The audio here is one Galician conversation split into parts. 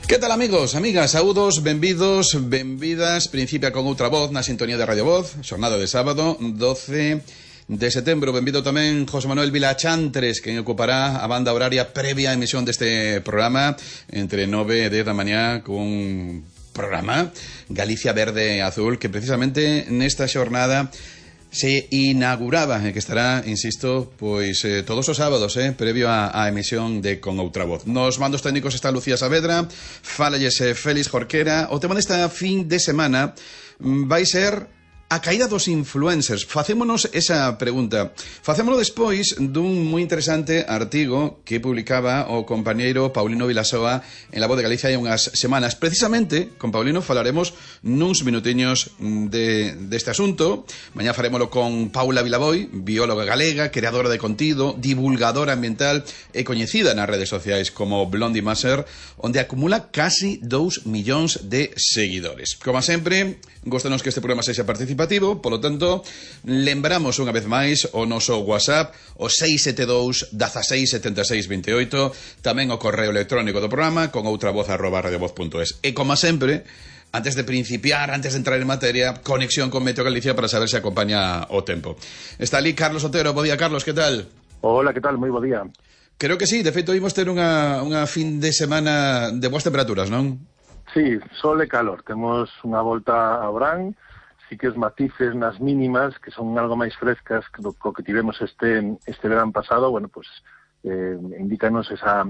Que tal, amigos, amigas, saúdos, benvidos, benvidas. Principia con outra voz na sintonía de Radio Voz, xornada de sábado, 12 de setembro. Benvido tamén José Manuel Vilachantres, que ocupará a banda horaria previa a emisión deste programa entre 9 e 10 da mañá cun programa Galicia Verde e Azul, que precisamente nesta xornada se inauguraba, que estará, insisto, pois todos os sábados, previo á emisión de Con Outra Voz. Nos mandos técnicos está Lucía Saavedra, fálalles Félix Jorquera. O tema desta fin de semana vai ser a caída dos influencers. Facémonos esa pregunta. Facémolo despois dun moi interesante artigo que publicaba o compañeiro Paulino Vilasoa en La Voz de Galicia hai unhas semanas. Precisamente, con Paulino falaremos nuns minutiños deste asunto. Mañá farémolo con Paula Vilaboy, bióloga galega, creadora de contido, divulgadora ambiental e coñecida nas redes sociais como Blondie Maser, onde acumula casi 2 millóns de seguidores. Como sempre, góstanos que este programa sexa participativo, polo tanto, lembramos unha vez máis o noso WhatsApp, o 672 16 76 28, tamén o correo electrónico do programa con outravoz@radiovoz.es. E como sempre, antes de principiar, antes de entrar en materia, conexión con Meteo Galicia para saber se acompaña o tempo. Está ali Carlos Otero. Bo día, Carlos, que tal? Hola, que tal? Moi bo día. Creo que sí, de feito imos ter unha fin de semana de boas temperaturas, non? Sí, sol e calor. Temos unha volta a verán. Sí que os matices nas mínimas, que son algo máis frescas que o que tivemos este verán pasado, bueno, pues indícanos esa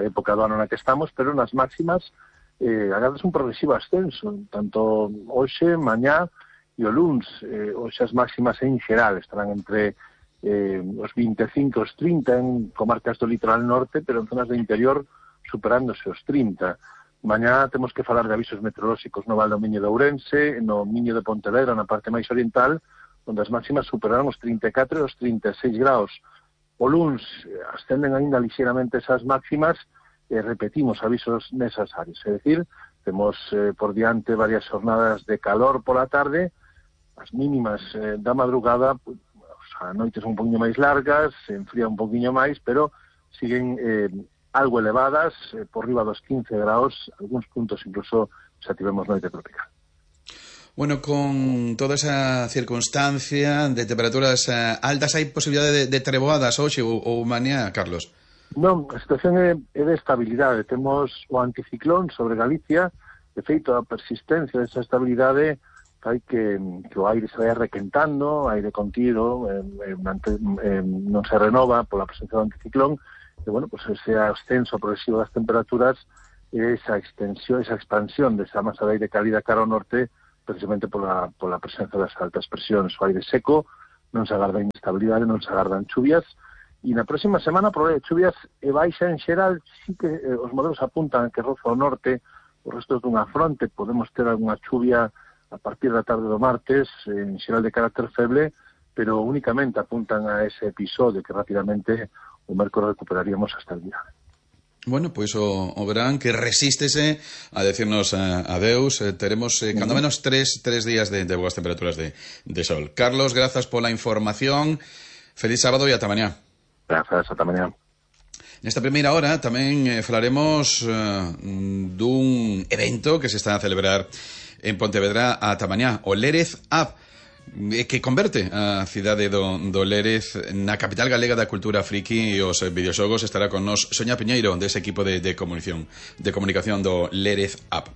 época do ano na que estamos, pero nas máximas agardas un progresivo ascenso, tanto hoxe, mañá e o luns. Hoxe as máximas en xeral estarán entre os 25 os 30 en comarcas do litoral norte, pero en zonas do interior superándose os 30. Mañá temos que falar de avisos meteorolóxicos no Val do Miño de Ourense, no Miño de Pontevedra, na parte máis oriental, onde as máximas superarán os 34 e os 36 graus. O luns ascenden aínda lixeiramente esas máximas e repetimos avisos nesas áreas. É dicir, temos por diante varias jornadas de calor pola tarde, as mínimas da madrugada, a noites un poquinho máis largas, se enfría un poquinho máis, pero siguen algo elevadas, por riba dos 15 graus, algúns puntos incluso xa tivemos noite tropical. Bueno, con toda esa circunstancia de temperaturas altas, hai posibilidade de treboadas hoxe ou mañá, Carlos? Non, a situación é de estabilidade. Temos o anticiclón sobre Galicia, de feito a persistencia desa estabilidade fai que o aire se vai requentando, aire contido, non se renova pola presencia do anticiclón, e, bueno, pues ese ascenso progresivo das temperaturas, esa extensión, esa expansión desa masa de aire cálida cara ao norte, precisamente pola presencia das altas presións. O aire seco, non se agarda inestabilidade, non se agardan chuvias, e na próxima semana, por chuvias e baixa en xeral, sí que os modelos apuntan que roza ao norte os restos dunha fronte, podemos ter algunha chuvia a partir da tarde do martes, en xeral de carácter feble, pero únicamente apuntan a ese episodio que rapidamente o mércores recuperaríamos hasta el día. Bueno, pois o verán que resístese a decirnos adeus. Teremos cando menos tres días de boas temperaturas de sol. Carlos, grazas pola información. Feliz sábado e ata mañá. Grazas, ata mañá. Nesta primeira hora tamén falaremos dun evento que se está a celebrar en Pontevedra ata mañá, o Lérez Up, que converte a cidade do Lérez na capital galega da cultura friki e os videoxogos. Estará con nos Soña Piñeiro dese equipo de comunicación do Lérez Up.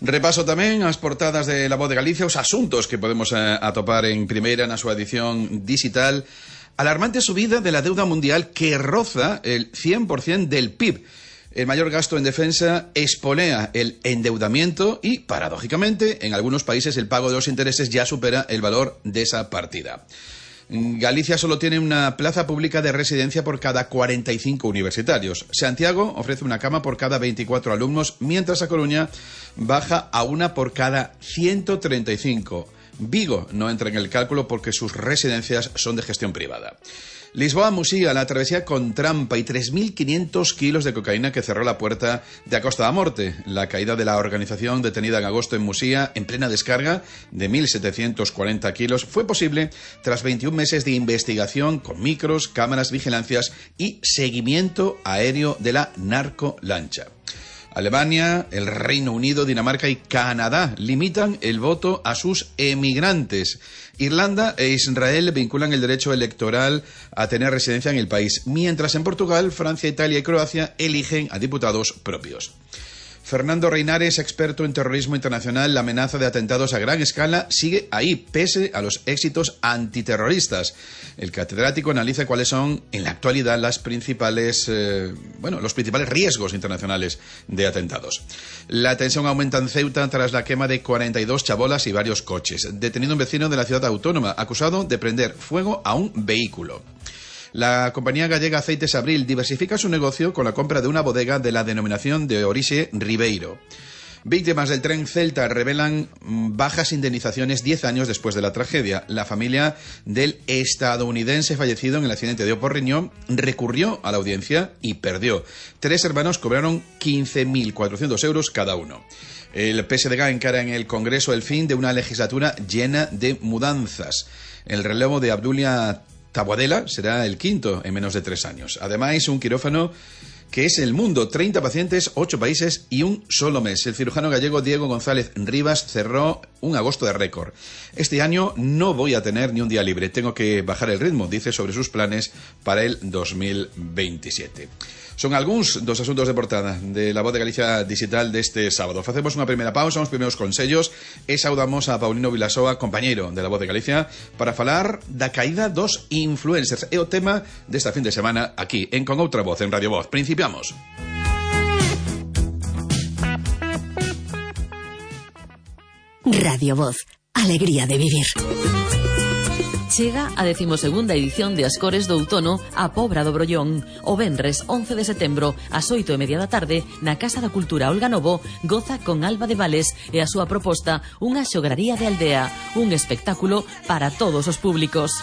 Repaso tamén as portadas de La Voz de Galicia, os asuntos que podemos atopar en primeira na súa edición digital. Alarmante subida de la deuda mundial que roza el 100% del PIB. El mayor gasto en defensa espolea el endeudamiento y, paradójicamente, en algunos países el pago de los intereses ya supera el valor de esa partida. Galicia solo tiene una plaza pública de residencia por cada 45 universitarios. Santiago ofrece una cama por cada 24 alumnos, mientras a Coruña baja a una por cada 135. Vigo no entra en el cálculo porque sus residencias son de gestión privada. Lisboa-Musía, la travesía con trampa y 3.500 kilos de cocaína que cerró la puerta de Acosta da Morte. La caída de la organización detenida en agosto en Musía, en plena descarga de 1.740 kilos, fue posible tras 21 meses de investigación con micros, cámaras, vigilancias y seguimiento aéreo de la narcolancha. Alemania, el Reino Unido, Dinamarca y Canadá limitan el voto a sus emigrantes. Irlanda e Israel vinculan el derecho electoral a tener residencia en el país, mientras en Portugal, Francia, Italia y Croacia eligen a diputados propios. Fernando Reinares, experto en terrorismo internacional, la amenaza de atentados a gran escala sigue ahí, pese a los éxitos antiterroristas. El catedrático analiza cuáles son, en la actualidad, los principales riesgos internacionales de atentados. La tensión aumenta en Ceuta tras la quema de 42 chabolas y varios coches. Detenido un vecino de la ciudad autónoma, acusado de prender fuego a un vehículo. La compañía gallega Aceites Abril diversifica su negocio con la compra de una bodega de la denominación de Orixe Ribeiro. Víctimas del tren Celta revelan bajas indemnizaciones 10 años después de la tragedia. La familia del estadounidense fallecido en el accidente de Oporriño recurrió a la audiencia y perdió. 3 hermanos cobraron 15.400 euros cada uno. El PSDG encara en el Congreso el fin de una legislatura llena de mudanzas. El relevo de Abdulia Taboadela será el quinto en menos de 3 años. Además, un quirófano que es el mundo, 30 pacientes, 8 países y un solo mes. El cirujano gallego Diego González Rivas cerró un agosto de récord. Este año no voy a tener ni un día libre, tengo que bajar el ritmo, dice sobre sus planes para el 2027. Son algunos dos asuntos de portada de La Voz de Galicia Digital de este sábado. Facemos unha primeira pausa, uns primeiros consellos e saudamos a Paulino Vilasoa, compañeiro de La Voz de Galicia, para falar da caída dos influencers. É o tema desta fin de semana aquí, en Con Outra Voz, en Radio Voz. Principiamos. Radio Voz, alegría de vivir. Chega a 12ª edición de As Cores do Outono a Pobra do Brollón. O venres 11 de setembro, ás 8:30 da tarde, na Casa da Cultura Olga Novo, goza con Alba de Vales e a súa proposta Unha xograría de aldea, un espectáculo para todos os públicos.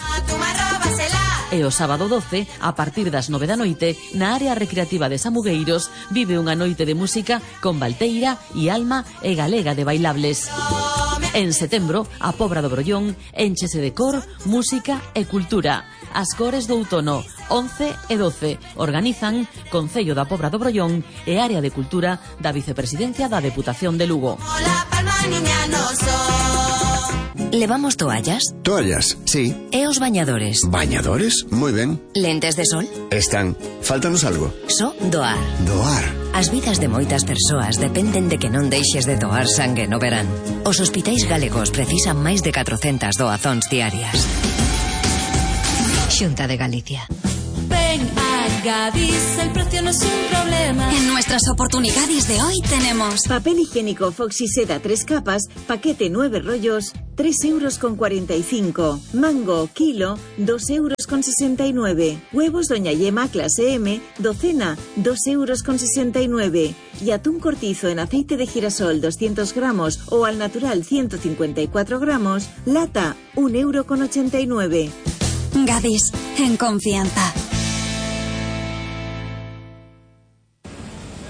E o sábado 12, a partir das 9 da noite, na área recreativa de Samugueiros, vive unha noite de música con Valteira e Alma e Galega de Bailables. En setembro, a Pobra do Brollón énchese de cor, música e cultura. As Cores do Outono, 11 e 12, organizan Concello da Pobra do Brollón e Área de Cultura da Vicepresidencia da Deputación de Lugo. ¿Levamos toallas? Toallas, sí. ¿E os bañadores? ¿Bañadores? Muy ben. ¿Lentes de sol? Están. Fáltanos algo. So doar. Doar. As vidas de moitas persoas dependen de que non deixes de doar sangue no verán. Os hospitais galegos precisan máis de 400 doazóns diarias. Xunta de Galicia. Ven a Gadis, el precio no es un problema. En nuestras oportunidades de hoy tenemos papel higiénico Foxy-Seda 3 capas, paquete 9 rollos, 3,45 €. Mango, kilo, 2,69 €. Huevos Doña Yema clase M, docena, 2,69 €. Y atún cortizo en aceite de girasol 200 gramos o al natural 154 gramos, lata, 1,89 €. Gadis, en confianza.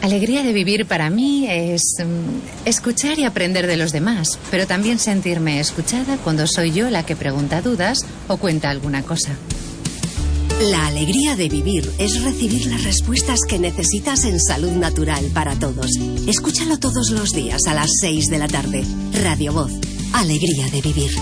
Alegría de vivir para mí es escuchar y aprender de los demás, pero también sentirme escuchada cuando soy yo la que pregunta dudas o cuenta alguna cosa. La alegría de vivir es recibir las respuestas que necesitas en Salud Natural para Todos. Escúchalo todos los días a las 6 de la tarde. Radio Voz, alegría de vivir.